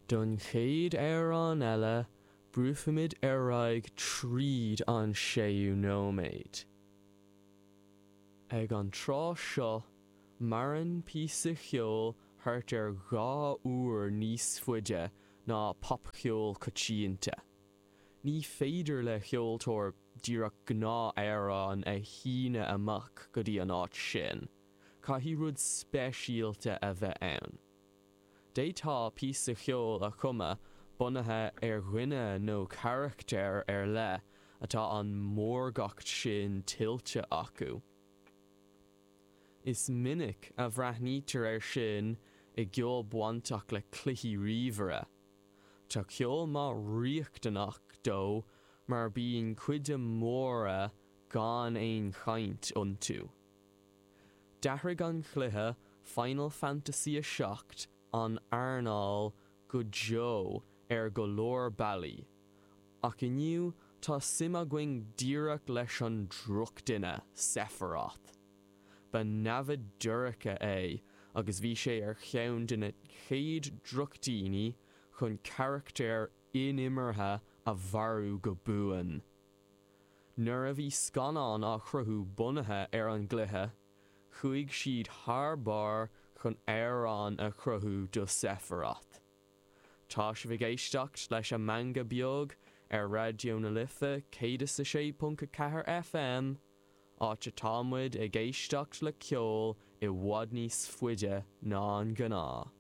Don chéad amhrán eile, brúfaimid ar aghaidh tríd an séú nóiméad. Ag an tráth seo, maireann píosa cheoil thart ar 2 uair níos faide ná popcheol coitianta. Ní féidir le ceoltóir díreach gnáth-amhrán a shíneadh amach go dtí an áit sin, caithfidh rud speisialta a bheith ann. D'fhéadfá píosa cheoil a chumadh bunaithe ar dhuine nó carachtar ar leith atá an mórgacht sin tuillte acu. Is minic a bhreathnaítear air sin i gceol bainteach le cluichí ríomhaire. Tá ceol maith riachtanach dó mar bíonn cuid mhóra gan aon chaint iontu. D'athraigh an cluiche Final Fantasy 7 an earnáil go deo ar go leor bealaí, ach inniu tá suim againn díreach leis an drochdhuine, Sephiroth. Ba namhaid dorcha é agus bhí sé ar cheann de na chéad drochdhaoine chun carachtar inimeartha a mharú go buan. Nuair a bhí scannán á chruthú bunaithe ar an gcluiche, chuaigh siad thar barr chun amhrán a chruthú do Sephiroth. Tá sibh ag éisteacht leis an Meangadh Beag ar Raidió na Life 106.4 FM, áit atá muid ag éisteacht le ceol i bhfad níos faide ná an gnáth.